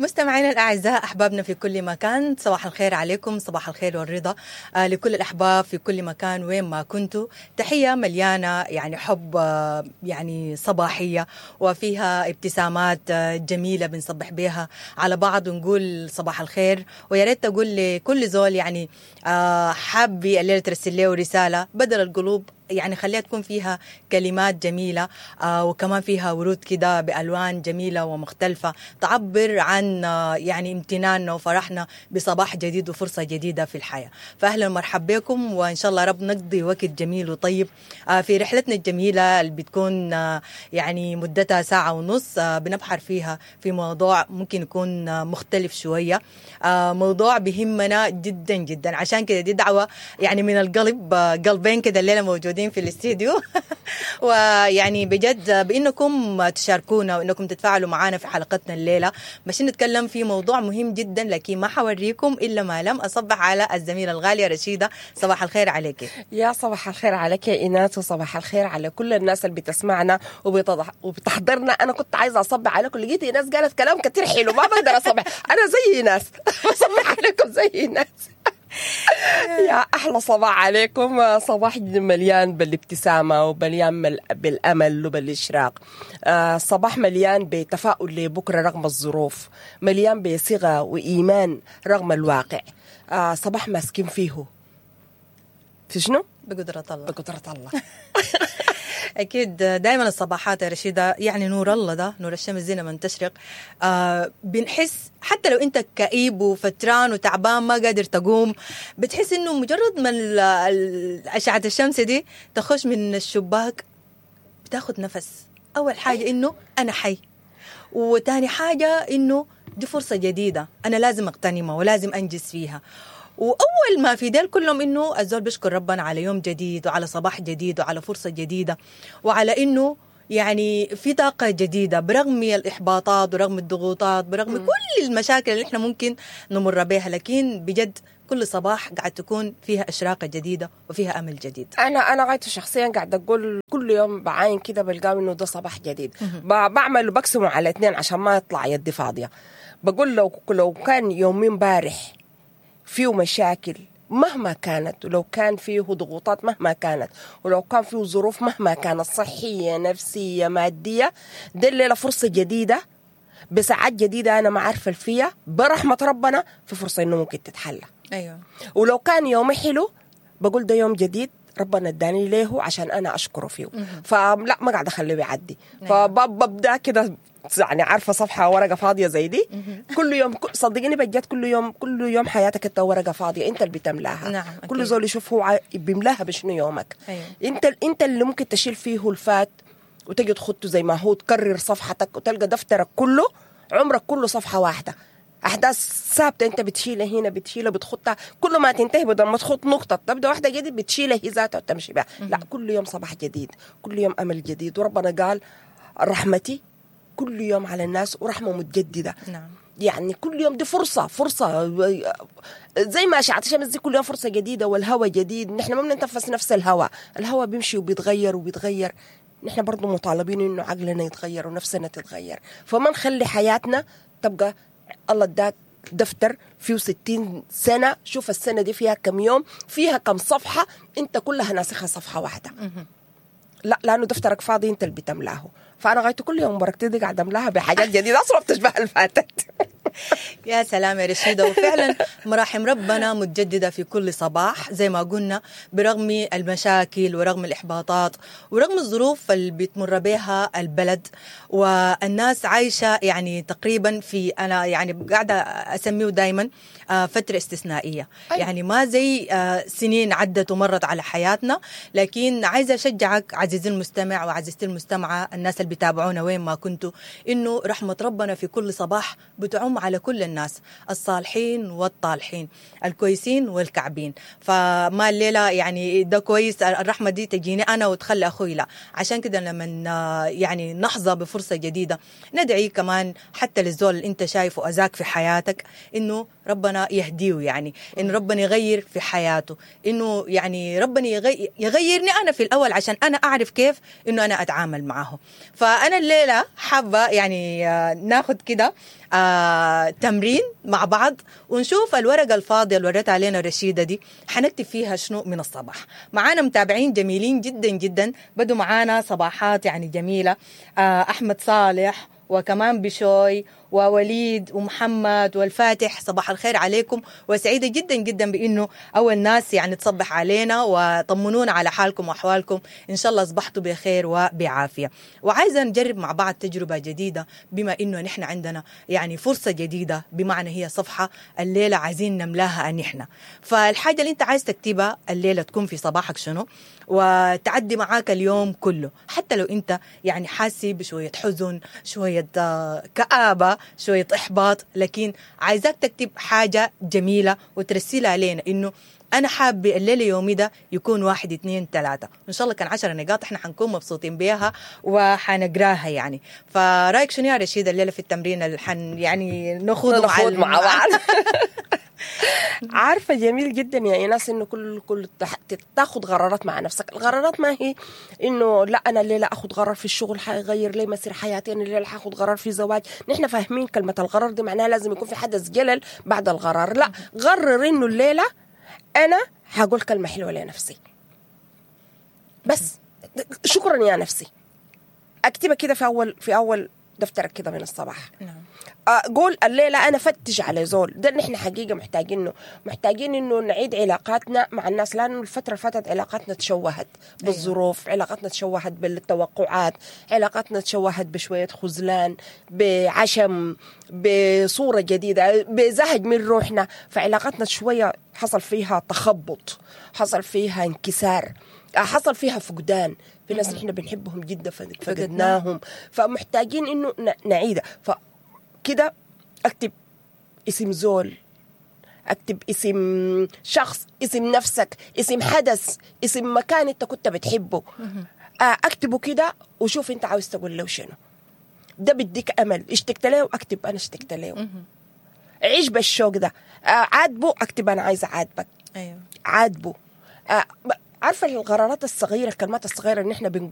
مستمعينا الأعزاء، أحبابنا في كل مكان، صباح الخير عليكم، صباح الخير والرضا لكل الأحباب في كل مكان وين ما كنتوا. تحية مليانة يعني حب، يعني صباحية وفيها ابتسامات جميلة بنصبح بها على بعض ونقول صباح الخير. ويا ريت تقول لكل زول يعني حابي الليلة ترسل له رسالة بدل القلوب، يعني خليها تكون فيها كلمات جميلة وكمان فيها ورود كده بألوان جميلة ومختلفة تعبر عن يعني امتناننا وفرحنا بصباح جديد وفرصة جديدة في الحياة. فأهلا ومرحبا بكم، وإن شاء الله رب نقضي وقت جميل وطيب في رحلتنا الجميلة اللي بتكون يعني مدتها ساعة ونص، بنبحر فيها في موضوع ممكن يكون مختلف شوية، موضوع بهمنا جدا جدا. عشان كده دي دعوة يعني من القلب، قلبين كده الليلة موجودين في الاستديو ويعني بجد بانكم تشاركونا وانكم تتفاعلوا معنا في حلقتنا الليلة. ماشيين نتكلم في موضوع مهم جدا، لكن ما حوريكم الا ما لم اصبح على الزميلة الغالية رشيده. صباح الخير عليك. يا صباح الخير عليك يا ايناس، وصباح الخير على كل الناس اللي بتسمعنا وبتحضرنا. انا كنت عايزه اصبح عليكم، لقيت ايناس قالت كلام كتير حلو، ما بقدر اصبح، انا زي ايناس بصبح عليكم زي ايناس. يا أحلى صباح عليكم، صباح مليان بالابتسامة ومليان بالأمل وبالإشراق، صباح مليان بتفاؤل لبكرة رغم الظروف، مليان بصيغة وإيمان رغم الواقع، صباح ماسكين فيه في شنو؟ بقدرة الله، بقدرة الله. أكيد دائما الصباحات يا رشيدة يعني نور الله ده، نور الشمس زينة من تشرق. بنحس حتى لو أنت كئيب وفتران وتعبان ما قادر تقوم، بتحس إنه مجرد ما أشعة الشمس دي تخش من الشباك بتاخد نفس. أول حاجة إنه أنا حي، وتاني حاجة إنه دي فرصة جديدة أنا لازم أغتنمها ولازم أنجز فيها. وأول ما في ديل كلهم إنه الزول بيشكر ربنا على يوم جديد وعلى صباح جديد وعلى فرصة جديدة وعلى إنه يعني في طاقة جديدة برغم الإحباطات ورغم الضغوطات برغم كل المشاكل اللي إحنا ممكن نمر بها، لكن بجد كل صباح قاعد تكون فيها إشراقة جديدة وفيها أمل جديد. أنا غايته شخصيا قاعدة أقول كل يوم بعاين كده بلقاه إنه ده صباح جديد. بعمل وبقسمه على 2 عشان ما يطلع يدي فاضية. بقول لو كان يومين بارح فيه مشاكل مهما كانت، ولو كان فيه ضغوطات مهما كانت، ولو كان فيه ظروف مهما كانت، صحية نفسية مادية، ده الليلة فرصة جديدة بساعات جديدة أنا ما عارفة فيها، برحمة ربنا في فرصة إنه ممكن تتحلى. أيوة. ولو كان يوم حلو بقول ده يوم جديد ربنا اداني ليه عشان أنا أشكره فيه. فلا ما قاعدة أخليه يعدي. فببدأ كده يعني عارفة صفحة ورقة فاضية زي دي كل يوم، صدقيني بجد كل يوم، كل يوم حياتك انت ورقة فاضية انت اللي بتملاها. نعم. كل زول يشوف هو بيملاها بشنو يومك. أيوة. انت اللي ممكن تشيل فيه الفات وتجي تخطه زي ما هو، تكرر صفحتك وتلقى دفترك كله عمرك كله صفحة واحدة، أحداث ثابتة أنت بتشيلها هنا بتشيلها بتخطها، كل ما تنتهي بدل ما تخط نقطة تبدأ واحدة جديد بتشيلها هي ذاتها وتمشي بها. لا، كل يوم صباح جديد، كل يوم أمل جديد. وربنا قال رحمتي كل يوم على الناس ورحمة متجددة. نعم. يعني كل يوم دي فرصة، فرصة زي ما أشعة الشمس دي كل يوم فرصة جديدة والهواء جديد. نحن ما بنتنفس نفس الهواء، الهواء بيمشي وبيتغير وبيتغير. نحن برضو مطالبين إنه عقلنا يتغير ونفسنا تتغير، فما نخلي حياتنا تبقى الله اداك دفتر فيه 60 سنة، شوف السنة دي فيها كم يوم، فيها كم صفحة، انت كلها ناسخها صفحة واحدة. لا، لأنه دفترك فاضي انت اللي بتملاه. فأنا غايته كل يوم بركتي دي قاعدة أملاها بحاجات جديدة أصلا بتشبه الفاتت. يا سلام يا رشيدة. وفعلا مراحم ربنا متجددة في كل صباح زي ما قلنا، برغم المشاكل ورغم الإحباطات ورغم الظروف اللي بتمر بها البلد والناس عايشة يعني تقريبا في، أنا يعني قاعدة أسميه دايما فترة استثنائية. أيوة. يعني ما زي سنين عدت ومرت على حياتنا، لكن عايزة أشجعك عزيزي المستمع وعزيزتي المستمعة، الناس اللي بيتابعونا وين ما كنتوا، إنه رحمة ربنا في كل صباح بتعم على كل الناس، الصالحين والطالحين، الكويسين والكعبين. فما الليلة يعني ده كويس الرحمة دي تجيني أنا وتخلي أخوي، لا. عشان كده لما يعني نحظى بفرصة جديدة ندعي كمان حتى للزول اللي أنت شايفه أذاك في حياتك إنه ربنا يهديه، يعني انه ربنا يغير في حياته، انه يعني ربنا يغيرني انا في الاول عشان انا اعرف كيف انه انا اتعامل معه. فانا الليلة حابة يعني ناخد كده تمرين مع بعض ونشوف الورقة الفاضيه اللي وريتها علينا رشيده دي حنكتب فيها شنو من الصباح. معانا متابعين جميلين جدا جدا، بدوا معانا صباحات يعني جميلة، احمد صالح وكمان بشوي ووليد ومحمد والفاتح، صباح الخير عليكم، وسعيدة جدا جدا بأنه أول ناس يعني تصبح علينا وطمنونا على حالكم وأحوالكم، إن شاء الله أصبحتوا بخير وبعافية. وعايزة نجرب مع بعض تجربة جديدة، بما أنه نحن عندنا يعني فرصة جديدة، بمعنى هي صفحة الليلة عايزين نملاها نحن. فالحاجة اللي أنت عايز تكتبها الليلة تكون في صباحك شنو، وتعدي معاك اليوم كله، حتى لو أنت يعني حاسي بشوية حزن، شوية كآبة، شوية إحباط، لكن عايزاك تكتب حاجة جميلة وترسلها لنا إنه أنا حابة الليلة يومي ده يكون 1 2 3، إن شاء الله كان 10 نقاط إحنا حنكون مبسوطين بيها وحنقراها يعني. فرايك شنو يا رشيد الليلة في التمرين اللي حن يعني نخوض مع بعض؟ عارفة جميل جدا يا إيناس إنه كل تاخد قرارات مع نفسك. القرارات ما هي إنه لا أنا الليلة أخد قرار في الشغل حيغير لي مسير حياتي، أنا الليلة حاخد قرار في زواج. نحن فاهمين كلمة القرار دي معناها لازم يكون في حدث جلل بعد القرار. لا، قرر إنه الليلة أنا هقول كلمة حلوة لنفسي بس، شكرا يا نفسي. أكتبها كده في أول دفترك كده من الصباح. نعم. قول الليلة أنا فتش على زول. ده نحن حقيقة محتاجينه، محتاجين إنه نعيد علاقاتنا مع الناس، لأنه الفترة فاتت علاقاتنا تشوهت بالظروف. أيوة. علاقاتنا تشوهت بالتوقعات، علاقاتنا تشوهت بشوية خذلان، بعشم، بصورة جديدة، بزهج من روحنا. فعلاقاتنا شوية حصل فيها تخبط، حصل فيها انكسار، حصل فيها فقدان. في ناس نحن بنحبهم جدا فقدناهم، فمحتاجين إنه نعيدها. فكده أكتب اسم زول، أكتب اسم شخص، اسم نفسك، اسم حدث، اسم مكان أنت كنت بتحبه، أكتبه كده وشوف أنت عاوز تقول له شنو. ده بديك أمل. اشتقت له أكتب أنا اشتقت له. عيش بالشوق ده. عاتبه أكتب أنا عايزة عاتبك. أيوة. عاتبه. عارفة القرارات الصغيرة، الكلمات الصغيرة اللي احنا بنقول